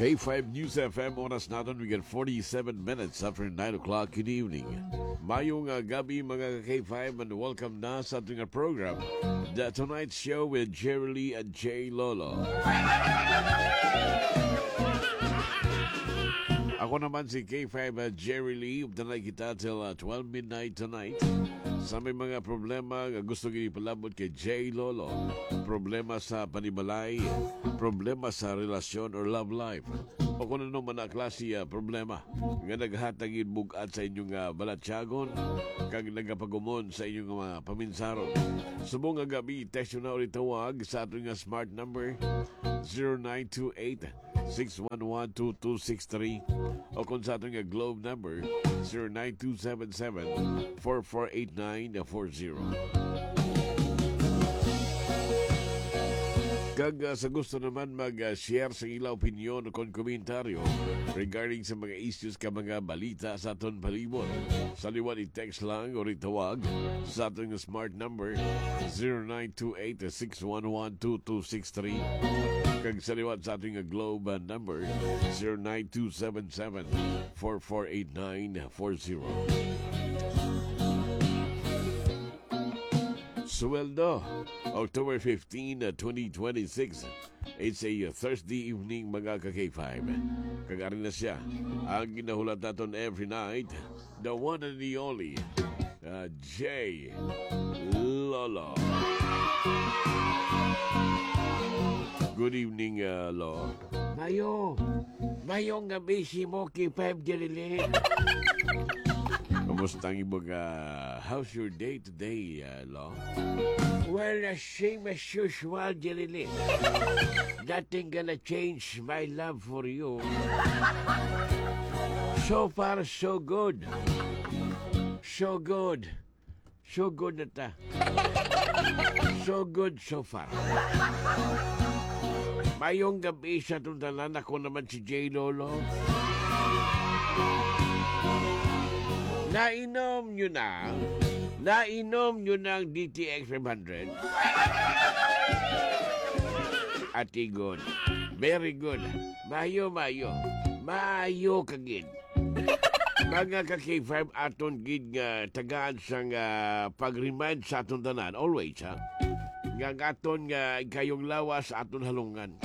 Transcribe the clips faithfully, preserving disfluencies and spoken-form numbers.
K five News F M, oras naton, we get forty-seven minutes after nine o'clock in the evening. Mayo nga gabi, mga ka-K five, and welcome na sa ating program, The Tonight Show with Jerry Lee and Jay Lolo. Ako naman si K five, uh, Jerry Lee. Updanay kita till, uh, twelve midnight tonight. Sa may mga problema nga gusto gid ipalabot kay Jay Lolo, problema sa panimalay, problema sa relasyon or love life, o kung ano man ang klase, ah, problema nga naghatag gid bug-at sa inyong, ah, balatyagon kag nagapagumon sa inyong mga paminsaron. Subong nga gabi, text na o tawag sa aton nga smart number, zero nine two eight, six one one, two two six three, o kung sa aton nga Globe number, zero nine two seven seven, four four eight nine four zero. Kag, ah, sa gusto naman mag, ah, share sa ila opinyon o kon komentaryo regarding sa mga issues ka mga balita sa aton palibot, sa liwat i-text lang o ritawag sa aton smart number, zero nine two eight, six one one, two two six three, kag sa liwat sa aton nga Globe, ah, number, zero nine two seven seven, four four eight nine four zero. Sweldo, October fifteen, twenty twenty-six. It's a Thursday evening, mga ka-K five. Kag ari na siya, ang ginahulat naton every night, the one and the only, uh, Jay Lolo. Good evening, uh, Lo. Mayo. Mayong gabi, si Moki Five Dirilit. Kumusta ang imong, ah, how's your day today, ah, Lo? Well, the same as usual, Dirilit. Nothing gonna change my love for you. So far, so good. So good. So good na ta. So good so far. Mayong gabi sa atong tanan. Ako naman si Jay Lolo. Nainom nyo na? Nainom nyo na ang D T X five hundred? Ati good. Very good. Mayo, mayo. Mayo kagid. Mga ka-K five, aton gid nga tagaan sang, ah, pag-remind sa aton tanan, always, ha, nga ang aton nga ikayong lawas aton halungan.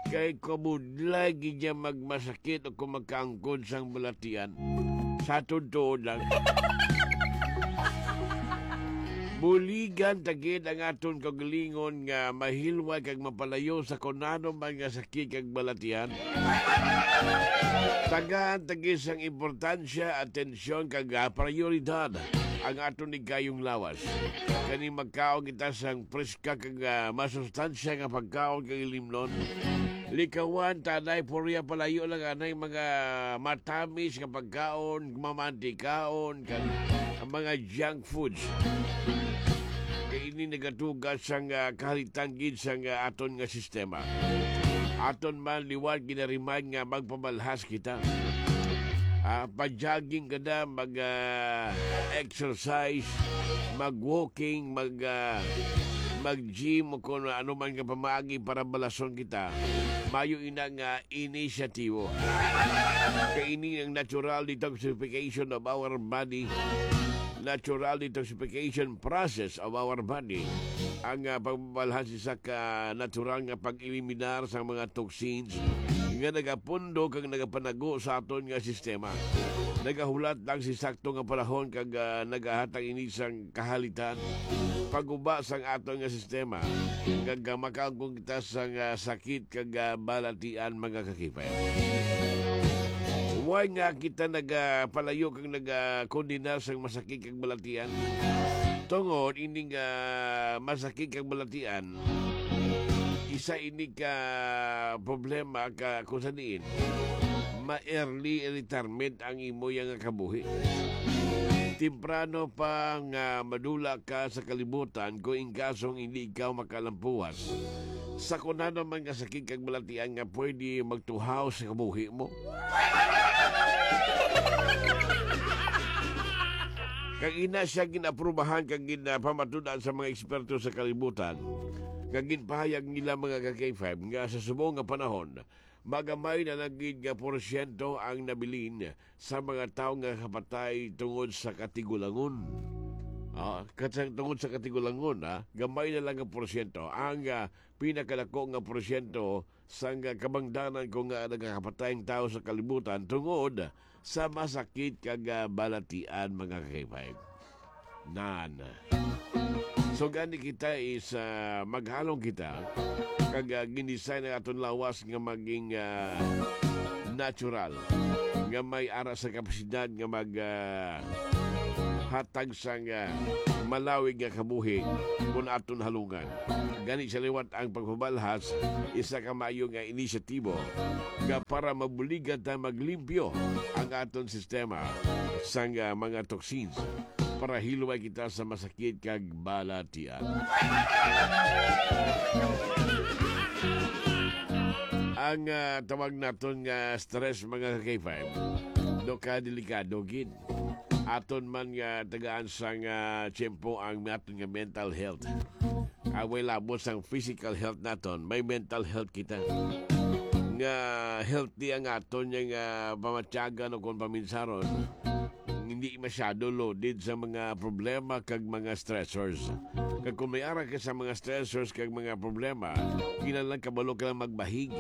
Kay kabudlay gid niya magmasakit o kung magkaangkon sang balatian. Sa aton tuod lang. Buligan ta gid ang aton kaugalingon nga mahilway kag mapalayo sa kunano man nga sakit kag balatian. Tagaan ta gid sang importansya, atensyon, kag, ah, prioridad ang aton ikayong lawas. Kani magkaon kita sang preska kag, ah, masustansya nga pagkaon kag ilimnon. Likawan ta anay, purya palayo lang anay mga matamis nga pagkaon, mamantikaon, kag ang mga junk foods. Kay ini nagatuga sang, ah, kahalitan gid sang, ah, aton nga sistema. Aton man liwat ginarimad nga magpamalhas kita. Ah, pa-jogging ka na, mag, ah, exercise, mag-walking, mag, ah, mag-gym, o kung ano man nga pamaagi para balason kita. Mayo ina nga inisyatibo. Kay ini ang natural detoxification of our body. Natural detoxification process of our body. Ang, ah, pagbabalhan sa isa ka natural nga pag-eliminar sa mga toxins nga nagapundo kag nagapanago sa aton nga sistema. Nagahulat lang sa sakto nga panahon kag, ah, nagahatag ini sang kahalitan, paguba sang aton nga sistema, kag, ah, makaangkon kita sang, ah, sakit kag, ah, balatian, mga ka-K five. Why nga kita nagapalayo kag nagakondenar sang masakit kag balatian? Tungod ining, ah, masakit kag balatian, isa ini ka problema ka kung sa diin ma-early retirement ang imo yang kabuhi. Temprano pa nga madula ka sa kalibutan kung in kasong hindi ikaw makalampuwas sa kung ano man nga sakit kag balatian nga pwede magtuhaw sa kabuhi mo. Kag ina siya gin-aprubahan kag ginpamatud-an sa mga eksperto sa kalibutan, kag ginpahayag nila, mga ka-K five, nga sa subong nga panahon, magamay na lang gid nga porsyento ang nabilin sa mga tawo nga kapatay tungod sa katigulangon. Ah, kat-, tungod sa katigulangon, ah, gamay na lang nga porsyento. Ang, ah, pinakadako nga porsyento sang, ah, kabangdanan ko nga nagakapatay ang tawo sa kalibutan tungod sa masakit kag, ah, balatian, mga ka-K five. Nan. So, gani kita is, ah, maghalong kita kag, ah, ginisay na aton lawas nga maging, ah, natural, nga may ara sa kapasidad nga mag, ah, hatag sang, ah, malawig nga kabuhi kun aton halungan. Gani sa liwat ang pagpabalhas, isa ka maayo nga inisyatibo nga para mabuligan ta maglimpyo ang aton sistema sang, ah, mga toxins para hilway kita sa masakit kag balatian. Ang, ah, tawag naton nga stress, mga ka-K five, no, ka delikado gid. Aton man nga tagaan sang, ah, tiyempo ang aton nga mental health. Ah, way labot sang physical health naton, may mental health kita. Nga healthy ang aton nga, ah, pamatyagan o kung paminsaron, hindi masyado loaded sa mga problema kag mga stressors. Kag kung may ara ka sa mga stressors kag mga problema, kinahanglan kabalo ka lang magbahig,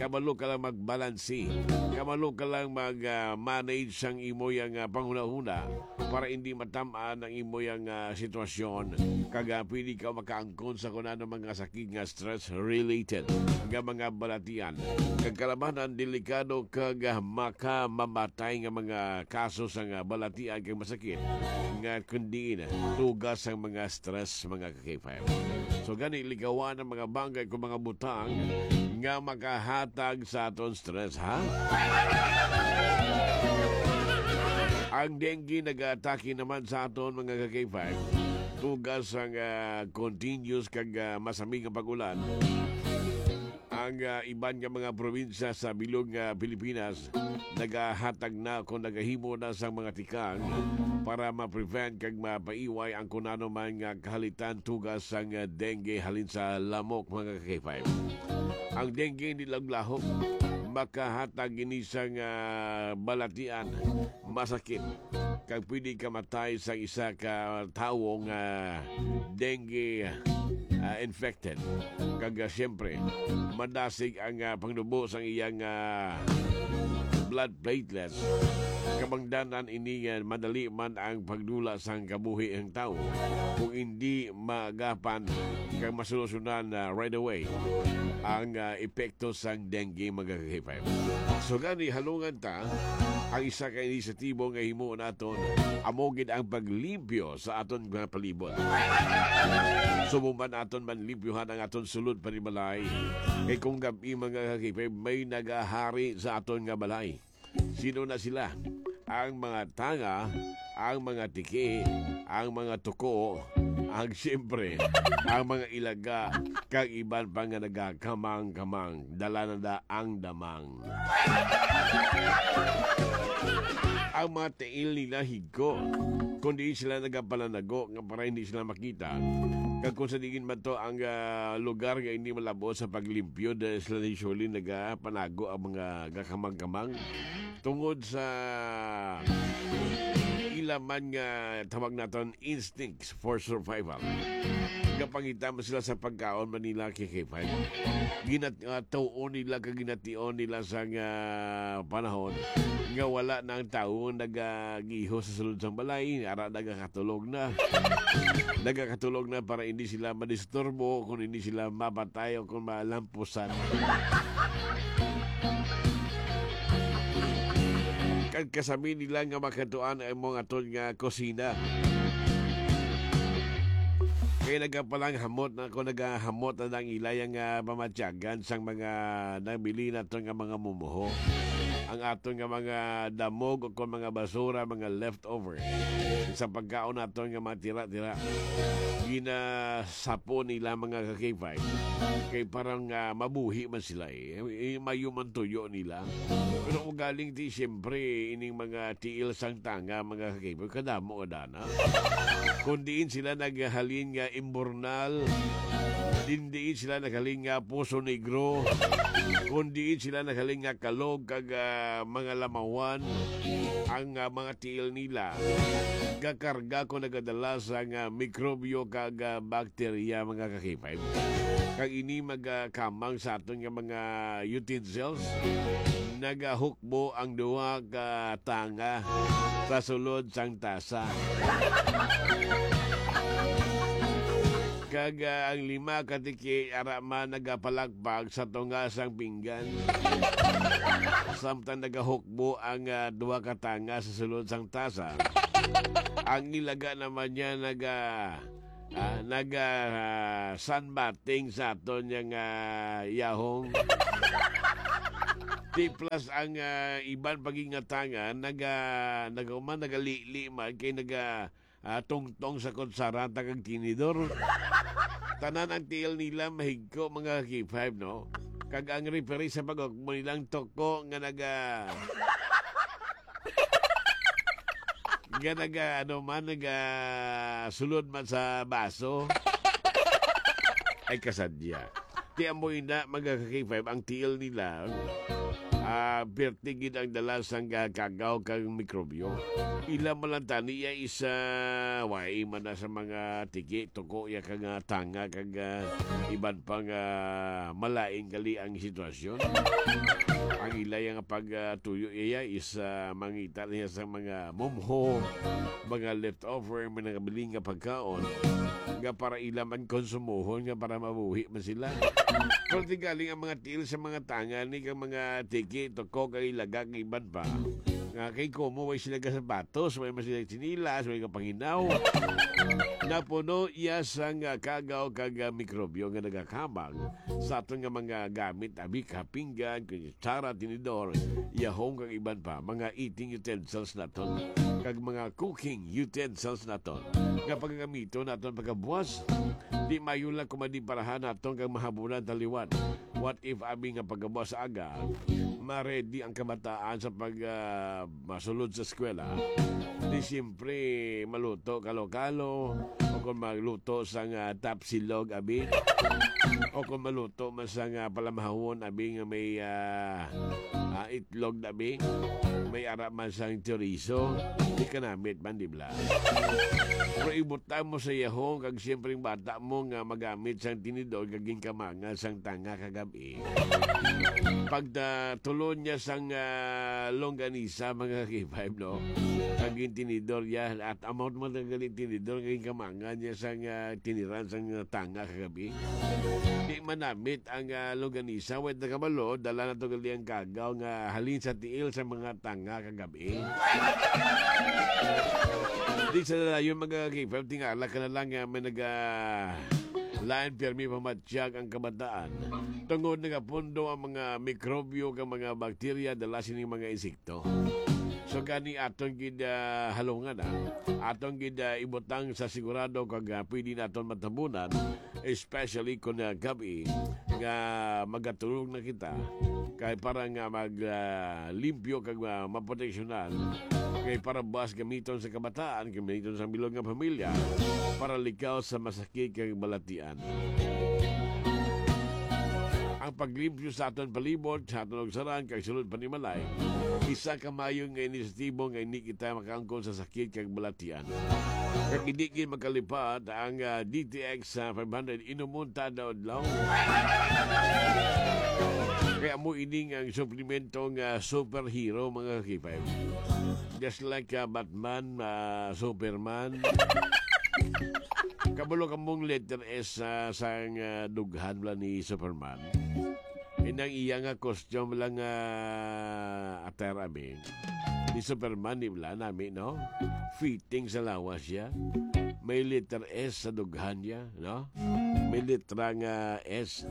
kabalo ka lang magbalanse, kabalo ka lang mag, ah, manage sang imo yang, ah, panghunahuna para hindi matam-an ang imo yang, ah, sitwasyon. Kag, ah, pwede ka makaangkon sa kung ano mga sakit nga stress-related nga mga balatian. Kag kalabanan, delikado kag, ah, makamamatay nga mga kaso sa nga balatian kag masakit nga kundi tugas sang mga stress, mga ka-K five. So, gani, ligawan ang mga bagay kung mga butang nga makahatag sa aton stress, ha? Ang dengue nag-atake naman sa aton, mga ka-K five. Tugas ang, ah, continuous kag, ah, masami nga pag-ulan. Ang, ah, iban nga mga probinsya sa bilog nga Pilipinas nagahatag na kung nagahimo na sang mga tikang para ma-prevent kag mapaiway ang kung ano man nga kahalitan tugas sang, ah, dengue halin sa lamok, mga ka-K five. Ang dengue hindi lang lahok, makahatag ini sang, ah, balatian, masakit, kag pwede ka matay sa isa ka tawo nga dengue, ah, infected. Kag, ah, siyempre, madasig ang, ah, pangnubo sang iyang, ah, blood platelets. Kabangdanan ini nga madali man ang pagdula sang kabuhi ang tawo kung hindi maagapan kag masolusyonan na right away ang, ah, epekto sang dengue, mga ka-K five. So gani, halungan ta ang isa ka inisyatibo nga himo naton, amo gid ang paglimpyo sa aton mga palibot. Subong man aton manlimpyuhan ang aton sulod panimalay, kay kung gab-i, mga ka-K five, may nagahari sa aton nga balay. Sino na sila? Ang mga tanga, ang mga tiki, ang mga tuko, ang siyempre, ang mga ilaga, kag iban pa nga nagakamang-kamang, dala na da ang damang. Ang mga tiil nila higko, kundi sila nagapananago nga para hindi sila makita. Kag kung sa diin man to ang, ah, lugar nga hindi malabo sa paglimpyo, dahil sila usually nagapanago ang mga gakamang-kamang tungod sa ila man nga tawag naton instincts for survival. Gapangita man sila sa pagkaon man nila, K K five. Ginat-, ah, tuon nila kag gination nila sa nga panahon nga wala na ang tawo nagagiho sa sulod sang balay, ara nagakatulog na. Nagakatulog na para hindi sila madisturbo, kung hindi sila mapatay o kung malampusan. Kag kasami nila nga makatuan ang mga aton nga kusina. Kay nagapalang hamot na, kung nagahamot na ang ilay ang, ah, pamatyagan sang mga nabili naton nga mga mumuho. Ang aton nga mga damog o kung mga basura, mga leftover sa pagkaon naton nga mga tira-tira. Ginasapo nila, mga ka-K five. Kay parang, ah, mabuhi man sila eh. Eh, mayo man tuyo nila. Pero kung galing di, siyempre, ining mga tiil sang tanga, mga ka-K five, kadamo ka dana. Kung diin sila naghalin nga imburnal, Dindiin sila naghaling nga Poso Negro. Kung diin sila naghaling nga Caloocan kag, ah, mga Lamawan, ang, ah, mga tiil nila gakarga kung nagadala sang, ah, mikrobyo kag, ah, bakterya, mga ka-K five. Kag ini magakamang sa aton nga mga utensils, nagahukbo ang duha ka tanga sa sulod sang tasa. Kag, ah, ang lima ka tiki ara man nagapalagpag sa tunga sang pinggan. Samtang nagahukbo ang, ah, duha ka tanga sa sulod sang tasa, ang ilaga naman niya naga-, ah, naga, ah, sunbathing sa aton yang, ah, yahong. Di plus ang, ah, iban pa gid nga tanga naga-, nagahuman, nagalili man kay naga-, ah, tungtong sa kutsarata kag tinidor. Tanan ang tiil nila mahigko, mga K five, no? Kag ang referee sa pag-ukbo nilang tuko nga naga-, nga naga-, ano man, naga-, sulod man sa baso. Ay, kasadya. Ti amo ina, mga ka-K five, ang tiil nila, ah, perti gid ang dala sang, ah, kagaw kag mikrobyo. Ila man lang tani ya isa, wai man na sa mga tiki, tuko ya kag, ah, tanga kag, ah, iban pang, ah, malain gali ang sitwasyon. Ang ila ya nga pag, ah, tuyo iya is, ah, mangita niya sa mga mumho, mga leftover, mga nabilin nga pagkaon, nga para ila man konsumohon, nga para mabuhi man sila. Pero ti galing ang mga tiil sa mga tanga ni kang mga tiki, tuko, kag ilaga, kag iban pa. Nga kay komo, way sila ka sapatos, way man sila tsinelas, way ka panginaw. Napuno iya sang, ah, kagaw kag, ah, mikrobyo nga nagakamang sa aton nga mga gamit, abi ka pinggan, kutsara, tinidor, yahong, kag iban pa, mga eating utensils naton, kag mga cooking utensils naton, nga pagagamiton naton pagkabuas. Di mayo lang kumadi parahan naton kag mahabunan taliwan. What if abi nga pagkabuas aga, ma-ready ang kabataan sa pag, ah, masulod sa eskwela? Di siyempre maluto kalo-kalo, o kung magluto sang, ah, tapsilog, abi. O kung maluto man sang, ah, palamahawon, abi, nga may, ah, ah, itlog, abi. May ara man sang chorizo. Di ka namit man, di bala? Pero ibutang mo sa yahong, kag siyempre ang bata mo nga magamit sang tinidor, kag ginkamangan sang tanga kagab-i. Pagtulon niya sang, ah, longganisa, mga K five, no? Kag gintinidor niya, at amount mo na galing tinidor, kag ginkamangan niya sang, ah, tiniran sang, ah, tanga kagab-i. Di manamit ang, ah, longganisa, wait na kabalo, dala na to gali ang kagaw nga halin sa tiil sa mga tanga kagab-i. Di sa dayon, mga K five, tingala ka na lang nga may naga-, lain pirmi pamatyag ang kabataan. Tungod nagapundo ang mga mikrobyo kag mga bakterya dala sining mga insekto. So, gani aton gid, ah, halungan, ah. Aton gid, ah, ibutang sa sigurado kag, ah, pwede naton matabunan, especially kung, ah, gab-i nga magatulog na kita. Kay para nga mag, ah, limpyo kag, ah, maproteksyonan. Kay para buas gamiton sa kabataan, gamiton sa bilog nga pamilya, para likaw sa masakit kag balatian. Ang paglimpyo sa aton palibot, sa aton lugsaran, kag sulod panimalay, isa ka maayo nga inisyatibo nga hindi kita makaangkon sa sakit kag balatian. Kag hindi gid makalipat ang, ah, D T X sa five hundred, inumon ta adlaw-adlaw. Kaya mo ining ang suplemento nga superhero, mga K five. Just like, ah, Batman, ah, Superman. Kabalo ka mong letter S, ah, sang, ah, dughan bala ni Superman. Inang iya nga costume lang, ah, attire, abi, ni Superman, di bala nami, no? Fitting sa lawas siya. May letter S sa dughan niya, no? May letra nga S.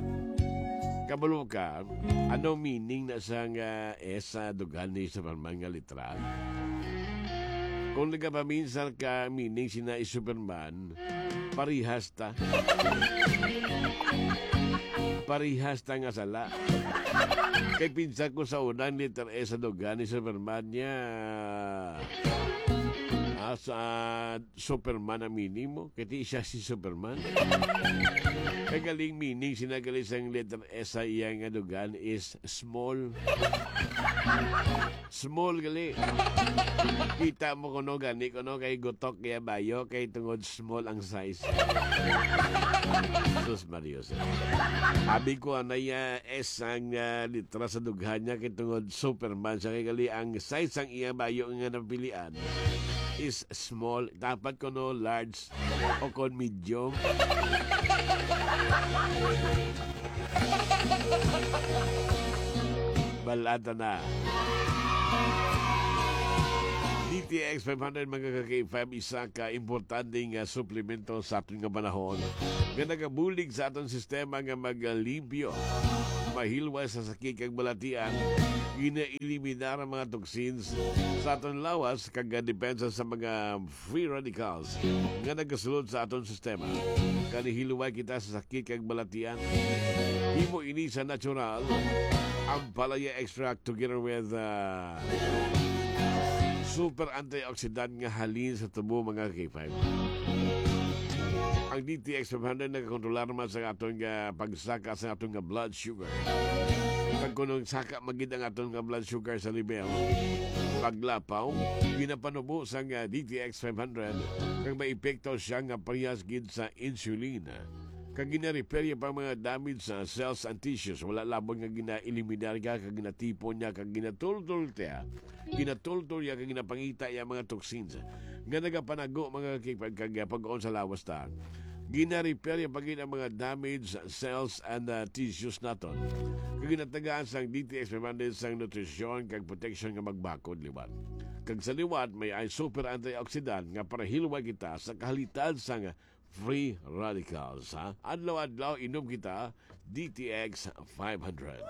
Kabalo ka, ano meaning na sang, ah, S sa dughan ni Superman nga letra? Kung nagapaminsar ka, meaning sina is Superman, parihas ta. Parihas ta nga sala. Kay pinsan ko sa unang letter S sa dughan ni Superman niya. As, ah, Superman ang meaning mo? Kay di siya si Superman. Kay galing meaning, sinagali sang letter S sa iya nga dugan is small. Small gali. Kita mo kuno gani kuno kay gutok kaya bayo kay tungod small ang size. Sus Mario, sir. Abi ko anay, ah, S ang, ah, litra sa dughan niya kay tungod Superman siya kay gali ang size sang iya bayo nga napilian is small. Dapat kuno large o kon medium. Balata na. D T X five hundred, mga ka-K five, isa ka importante nga suplemento sa aton nga panahon nga nagabulig sa aton sistema nga maglimpyo, mahilwas sa sakit kag balatian, ginaeliminar ang mga toxins sa aton lawas kag depensa sa mga free radicals nga nagasulod sa aton sistema. Kani hilway kita sa sakit kag balatian. Himo ini sa natural. Ang palaya extract together with, uh, super antioxidant nga halin sa tubo, mga K five. Ang D T X five hundred nagakontrolar man sa aton nga pagsaka sa aton nga blood sugar. Kag kung saka magid ang aton nga blood sugar sa level, paglapaw, ginapanubo sang, ah, D T X five hundred, kag may epekto siya nga parehas gid sa insulin. Kag gina-repair niya pa ang mga damage sa cells and tissues. Wala labon nga gina-eliminar ka, kag ginatipon niya, kag ginatultol niya. Ginatultol niya, kag ginapangita niya ang mga toxins nga nagapanago, mga kipag-, kag pag-on sa lawas ta. Gina-repair niya pa gid ang mga damaged cells and, uh, tissues naton. Kag ginatagaan sang D T X five hundred sang nutrisyon kag protection nga magbakod liwat. Kag sa liwat, may ay super antioxidant nga para hilway kita sa kahalitan sang free radicals, ha? Adlaw-adlaw, inom kita, D T X five hundred.